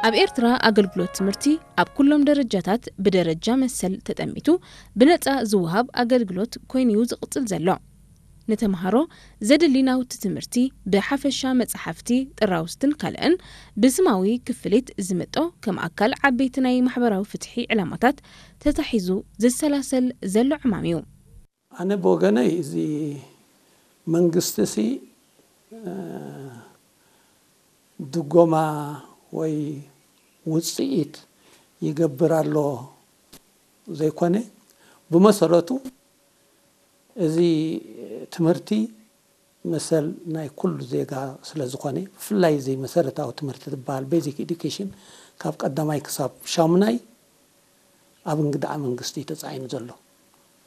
ኣብ ኤርትራ ኣገልግሎት ትምህርቲ ኣብ ኩሎም ደረጃታት ብደረጃ መሰል ተጠሚቱ ብነጻ ዝወሃብ ኣገልግሎት ኮይኑ'ዩ ዝቕጽል ዘሎ። ንተምሃሮ ዘድሊ ናውቲ ትምህርቲ ብሓፈሻ መጻሕፍቲ፣ ጥራውስትን ካልእን ብስማዊ ክፍሊት ዝምጦ ከም ኣካል ዓበይቲ ናይ ማሕበራዊ ፍትሒ ዕላማታት ተታሒዙ ዝሰላሰል ዘሎ ዕማም እዩ። ኣነ ብወገነይ እዚ መንግስቲ ሲ ድጎማ ወይ ውፅኢት ይገብር ኣሎ ዘይኮነ፣ ብመሰረቱ እዚ ትምህርቲ መሰል ናይ ኩሉ ዜጋ ስለ ዝኾነ፣ ብፍላይ እዚ መሰረታዊ ትምህርቲ ዝበሃል basic education ካብ ቀዳማይ ክሳብ ሻሙናይ ኣብ እንግዳዓ መንግስቲ ተፃዒኑ ዘሎ።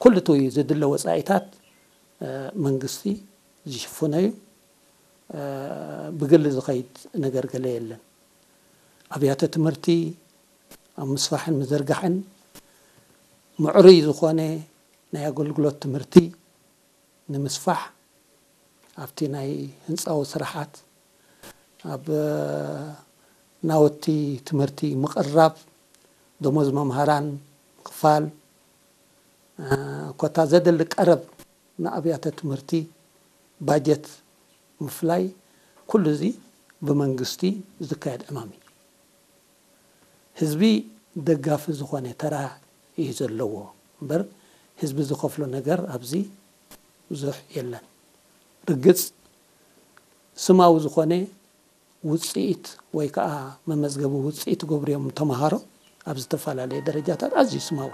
ኩሉ እቲ ዝድለ ወፃኢታት መንግስቲ ዝሽፍኖ እዩ። ብግሊ ዝኸይድ ነገር ገለ የለን። ኣብያተ ትምህርቲ ኣብ ምስፋሕን ምዝርጋሕን ምዕሩይ ዝኾነ ናይ ኣገልግሎት ትምህርቲ ንምስፋሕ ኣብቲ ናይ ህንፃዊ ስራሓት፣ ኣብ ናውቲ ትምህርቲ ምቕራብ፣ ደሞዝ መምሃራን ምኽፋል፣ ኮታ ዘደሊ ቀረብ ንኣብያተ ትምህርቲ ባጀት ምፍላይ፣ ኩሉ እዚ ብመንግስቲ ዝካየድ ዕማም እዩ። ህዝቢ ደጋፊ ዝኾነ ተራ እዩ ዘለዎ እምበር፣ ህዝቢ ዝኸፍሎ ነገር ኣብዚ ብዙሕ የለን። ርግጽ፣ ስማዊ ዝኾነ ውፅኢት ወይ ከዓ መመዝገቢ ውፅኢት ገብርዮም ተምሃሮ ኣብ ዝተፈላለየ ደረጃታት ኣዝዩ ስማዊ።